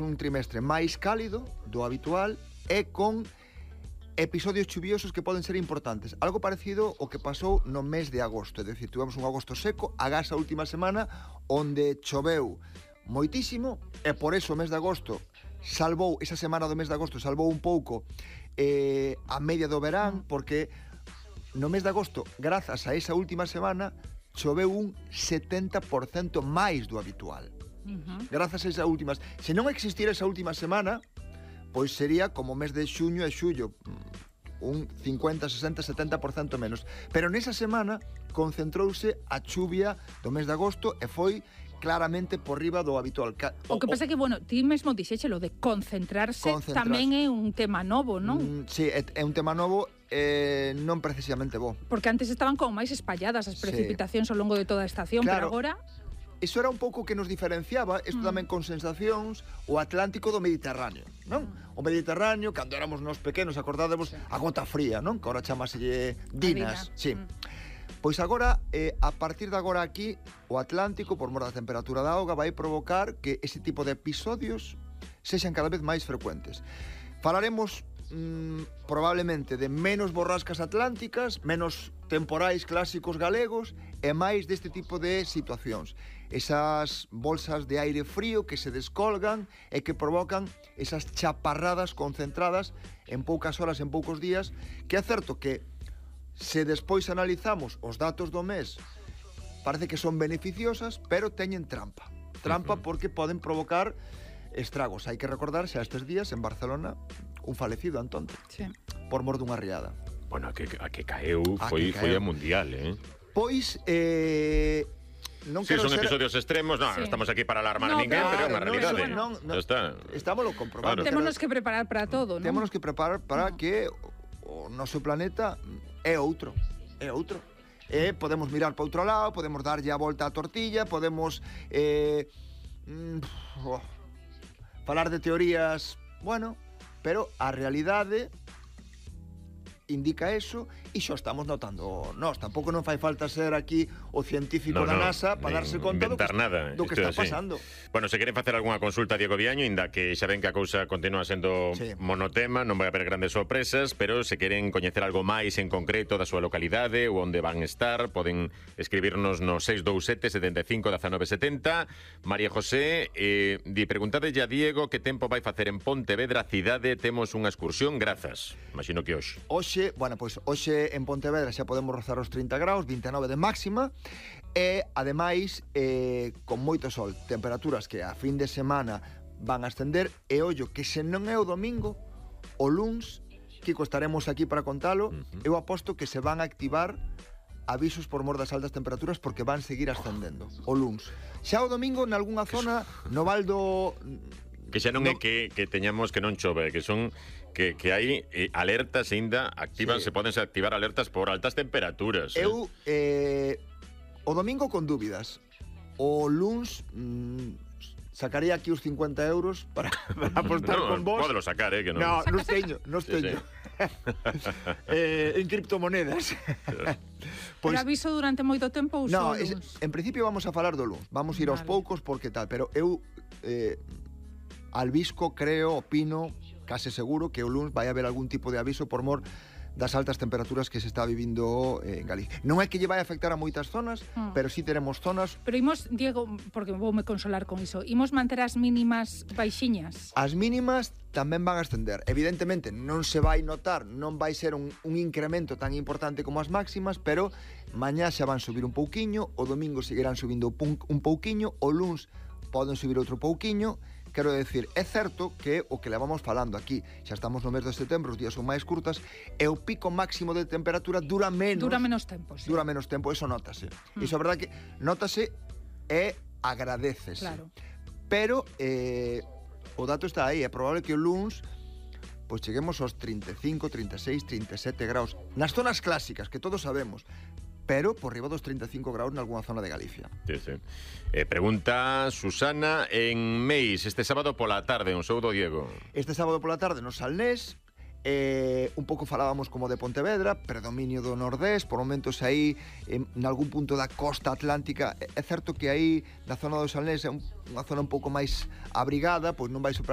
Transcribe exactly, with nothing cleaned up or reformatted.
un trimestre máis cálido do habitual e con episodios chuviosos que poden ser importantes. Algo parecido ao que pasou no mes de agosto, é dicir, tivemos un agosto seco, agás a última semana, onde choveu moitísimo, e por eso o mes de agosto salvou, esa semana do mes de agosto salvou un pouco eh, a media do verán, porque no mes de agosto, grazas a esa última semana, choveu un setenta por cento máis do habitual. Uh-huh. Grazas a esa última... Se non existira esa última semana, pois sería como o mes de xuño e xullo, un cincuenta, sesenta, setenta por cento menos. Pero nesa semana concentrouse a chuvia do mes de agosto e foi claramente por riba do habitual. O, o que pasa é que, bueno, ti mesmo dixéchelo de concentrarse, concentrarse tamén é un tema novo, non? Mm, sí, é, é un tema novo, eh, non precisamente bo. Porque antes estaban como máis espalladas as precipitacións sí. ao longo de toda a estación, claro. Pero agora... Iso era un pouco que nos diferenciaba, isto mm. tamén con sensacións, o Atlántico do Mediterráneo, non? Mm. O Mediterráneo, cando éramos nos pequenos, acordádemos, sí. a gota fría, non? Que agora chamaselle dinas, sí. Mm. Pois agora, eh, a partir de agora aquí, o Atlántico, por mor da temperatura da auga, vai provocar que ese tipo de episodios sexan cada vez máis frecuentes. Falaremos mm, probablemente de menos borrascas atlánticas, menos temporais clásicos galegos e máis deste tipo de situacións. Esas bolsas de aire frío que se descolgan e que provocan esas chaparradas concentradas en poucas horas, en poucos días, que é certo que se despois analizamos os datos do mes, parece que son beneficiosas, pero teñen trampa. Trampa uh-huh. porque poden provocar estragos. Hai que recordar xa estes días en Barcelona un falecido, Antón, sí. por mor dunha riada. Bueno, a que, a que caeu a foi, que caeu. foi a mundial, eh? Pois, eh... Non sí, son ser... episodios extremos, non, sí. estamos aquí para alarmar no, a ninguén, claro, pero é unha realidade. No, no, no, está. Estámoslo comprobando. Claro. Témonos que preparar para todo, non? Témonos que preparar para no. que o noso planeta é outro, é outro. E podemos mirar para outro lado, podemos darlle a volta á tortilla, podemos eh, mm, oh, falar de teorías, bueno, pero a realidade indica eso e xo estamos notando nós. Tampouco non fai falta ser aquí o científico no, da NASA no, para darse conta do que, nada, do que está así. pasando. Bueno, se queren facer algunha consulta a Diego Viaño, inda que xa ven que a cousa continúa sendo sí. monotema, non vai haber grandes sorpresas, pero se queren coñecer algo máis en concreto da súa localidade ou onde van estar, poden escribirnos no seis dous sete, sete cinco, uno nove sete cero. María José, eh, di preguntadelle a Diego que tempo vai facer en Pontevedra cidade, temos unha excursión, grazas. Imagino que hoxe. Hoxe, bueno, pois hoxe en Pontevedra xa podemos rozar os trinta graus, vinte e nove de máxima, e ademais eh, con moito sol, temperaturas que a fin de semana van a ascender, e ollo que se non é o domingo, o luns, Kiko, estaremos aquí para contalo, uh-huh. eu aposto que se van a activar avisos por mor das altas temperaturas porque van seguir ascendendo o luns. Xa o domingo nalgúnha zona no Val do... Que xa non no... é que, que teñamos que non chove, que son que, que hai eh, alertas ainda activas, sí. se poden activar alertas por altas temperaturas. Eu, eh, o domingo con dúbidas. O luns mm, sacaría aquí os cincuenta euros para, para apostar no, con vos. Podelo sacar, eh, que non. No, non teño, non teño. Sí, sí. eh, en criptomonedas. Pois, pero aviso durante moito tempo ou no, só es, en principio vamos a falar do luns. Vamos a ir vale. aos poucos porque tal, pero eu eh, albisco, creo, opino, case seguro que o luns vai haber algún tipo de aviso por mor das altas temperaturas que se está vivindo en Galicia. Non é que lle vai afectar a moitas zonas, mm. pero sí teremos zonas... Pero imos, Diego, porque voume consolar con iso, imos manter as mínimas baixiñas? As mínimas tamén van a ascender. Evidentemente non se vai notar, non vai ser un, un incremento tan importante como as máximas, pero mañá xa van subir un pouquiño, o domingo seguirán subindo un pouquiño, o luns poden subir outro pouquiño. Quero decir, é certo que o que levamos falando aquí, xa estamos no mes de setembro, os días son máis curtas, e o pico máximo de temperatura dura menos... Dura menos tempo, sí. Dura menos tempo, eso notase. Mm. Iso é verdade que notase e agradecese. Claro. Pero eh, o dato está aí, é probable que o luns pois cheguemos aos trinta e cinco, trinta e seis, trinta e sete graus. Nas zonas clásicas, que todos sabemos, pero por riba dos trinta e cinco graus nalgúna zona de Galicia. Sí, sí. Eh, pregunta Susana en Meis, este sábado pola tarde, un saúdo Diego. Este sábado pola tarde no Salnés, eh, un pouco falábamos como de Pontevedra, predominio do nordés, por momentos aí en algún punto da costa atlántica. É certo que aí na zona do Salnés é un, unha zona un pouco máis abrigada, pois non vai superar